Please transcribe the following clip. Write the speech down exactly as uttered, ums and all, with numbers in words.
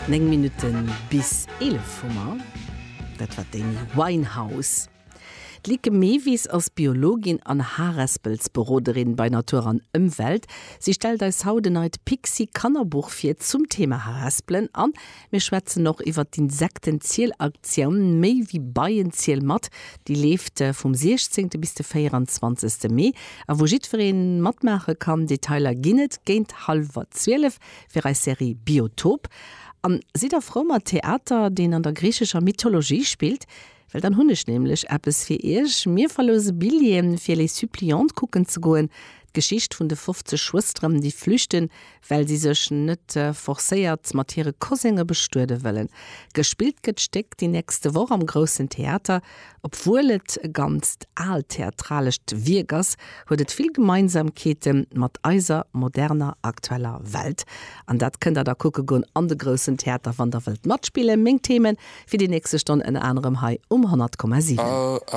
Néng Minutte bis eelef hu mer. Dat war d'Amy Winehouse. D'Lieke Mevis ass Biologin an Harespelsberoderin bei Natur an Ëmwelt. Si stellt eis haut en neit Pixi Kannerbuch vir zum Thema Harespelen an mir schwätzen och iwwer d'Insektenzielaktioun Méi wéi Beien, ziel mat, déi leeft vum siechzéngte bis de véierenzwanzegste Mee a wou jiddweree matmaache kann. Detailer ginn et géint hallwer zwielef fir eis Serie Biotop. An sidd der frou mat Theater, deen an der griichescher Mythologie spillt? Well dann hunn ech nämlech eppes fir iech. Mir verlose Billjeeë fir Les Suppliantes kucken ze goen. D'Geschicht vun de fofzeg Schwësteren, déi flüchten, well si sech net forcéiert mat hire Kosénge bestuede wëllen. Gespillt gëtt d'Stéck déi nächste Woch am Groussen Theater. Obwuel et e ganzt aalt theatralescht Wierk ass, huet et vill Gemeinsamkeete mat eiser moderner aktueller Welt. An dat kënnt der da kucke goen an de Groussen Theater, wann der wëllt matspillen. Meng Themen fir déi nächste Stonn ënner anerem hei um honnert Komma siwen.